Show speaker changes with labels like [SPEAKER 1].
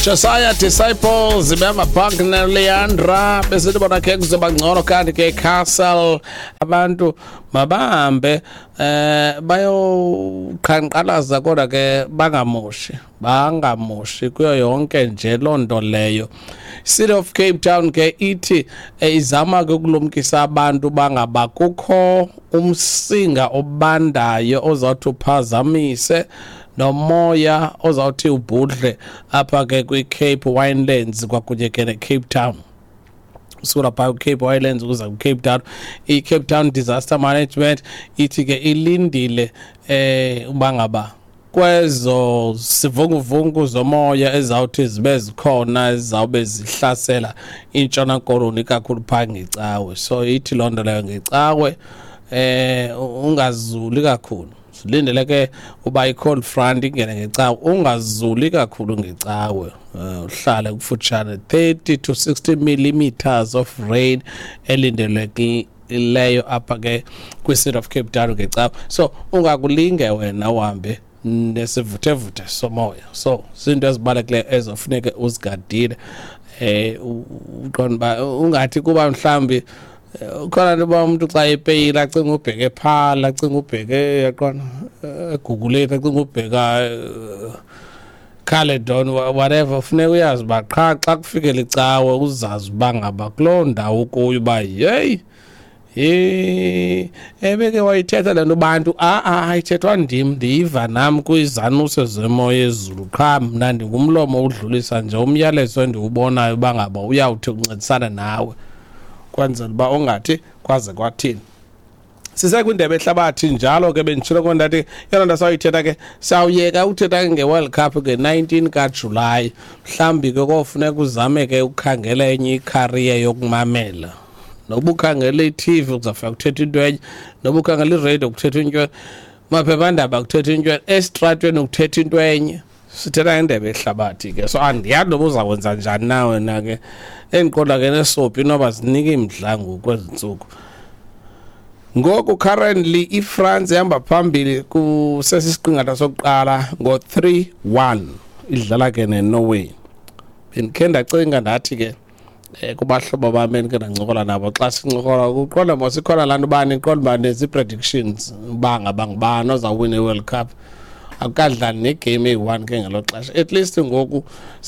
[SPEAKER 1] Josiah Disciples behamba phank neLeandra, besithi bona ke kuzoba ngcono. Kanti ke Castle, abantu mabahambe bayoqhanqalaza, kodwa ke bangamoshi, bangamoshi kuyo yonke nje loo nto leyo. City of Cape Town ke ithi izama ke ukulumkisa abantu bangaba kukho umsinga obandayo ozawuthi uphazamise nomoya ozawuthi ubhudle apha ke kwi-Cape Winelands kwakunye ke ne-Cape Town. Usuka phaa kwiCape Winelands ukuza kwiCape Town. I-Cape Town Disaster Management ithi ke ilindile uba ngaba kwezo sivunguvungu zomoya ezawuthi zibe zikhona, ezizawube zihlasela iNtshona Koloni kakhulu phaa ngeCawe. So ithi loo nto leyo ngeCawe ungazuli kakhulu. Silindele ke uba i-cold front ingene ngeCawe. Ungazuli kakhulu ngeCawe, uhlale kufutshane. 30 to 60 millimeters of rain elindelekileyo apha ke kwi-City of Cape Town ngeCawe, so ungakulinge wena uhambe nesivuthevuthe somoya. So zinto ezibalulekileyo ezofuneke uzigadile, uqonda uba ungathi kuba mhlawumbi khona nto uba umntu xa epeyile acinga ubheke phala, acinga ubheke, yaqona, eGugulethu, acinga ubheka Caledon, whatever. Funeka uyazi uba qha xa kufikela iCawe uzazi uba ngaba kuloo ndawo kuyo uba yeyi ebeke wayithetha le nto bantu. A-a, ayithethwa ndim, ndiyiva nam kwizanuse zemoya ezulu. Qha mna ndingumlomo udlulisa nje umyalezo endiwubonayo uba ngaba uyawuthi uncedisane nawe kwenzela uba ungathi kwaze kwathini. Sisekwindebe ehlabathi njalo ke, benditshilo ko ndathi yona nto sawuyithetha ke, sawuyeka uthetha ke nge-World Cup nge-19 kaJulayi. Mhlawumbi ke kofuneka uzame ke ukhangela enye icareer yokumamela. Noba ukhangela i-TV, kuzawufika kuthetha into enye. Noba ukhangela iradio, kuthetha into enye. Maphephandaba, kuthetha into enye. Esitratweni, kuthetha into enye. Sithetha ngendebe ehlabathi ke, so andiyazi noba uzakwenza njani na wena ke. Endiqonda ke nesopi inoba zinika imdla ngoku kwezi ntsuku. Ngoku currently iFrance ihamba phambili kusesisiqingatha sokuqala ngo-3-1, idlala ke neNorway. Bendikhe ndacinga ndathi ke kubahlobo bam endikhe ndancokola nabo, xa sincokola kuqonda mos ikhona laa nto uba niqonda uba nezi-predictions uba ngaba ngubani ozawuwina i-World Cup, akukadlali negame eyi-one ke ngelo xesha. At least ngoku